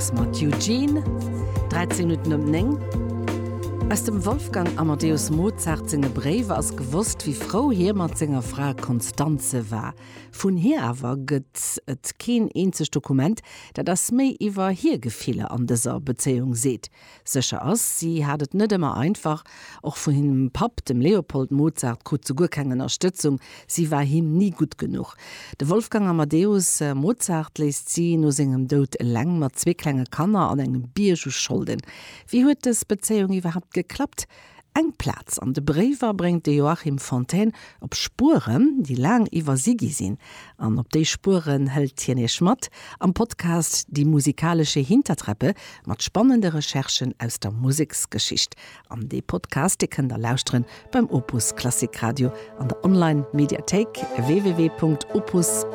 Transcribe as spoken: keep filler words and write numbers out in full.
Sparks mat Eugene. dräizéng Minutten op néng. Aus dem Wolfgang Amadeus Mozart senge Bréiwer ass gewosst, wéi frou hie mat senger Fra Constanze war. Vun hir awer gëtt et keen eenzegt Dokument, dat eis méi iwwer hir Gefiller an dëser Bezéiung seet. Sécher ass, si hat et net ëmmer einfach, och vun hirem Papp, dem Leopold Mozart, krut se guer keng Ënnerstëtzung, si war him ni gutt genuch. De Wolfgang Amadeus Mozart léisst si no sengem Doud eleng mat zwee klenge Kanner an engem Bierg u Scholden. Wéi huet dës Bezéiung iwwerhaapt geklappt? Eng Plaz an de Bréiwer bréngt de Joachim Fontaine op Spueren, déi laang iwwersi gi sinn. An op déi Spueren hëlt hien Iech mat am Podcast Die musikalische Hintertreppe mat spannende Recherchen aus der Museksgeschicht. An dee Podcast, dee kënnt der lauschteren beim Opus Klassik Radio an der Online-Mediathéik w w w Punkt opus.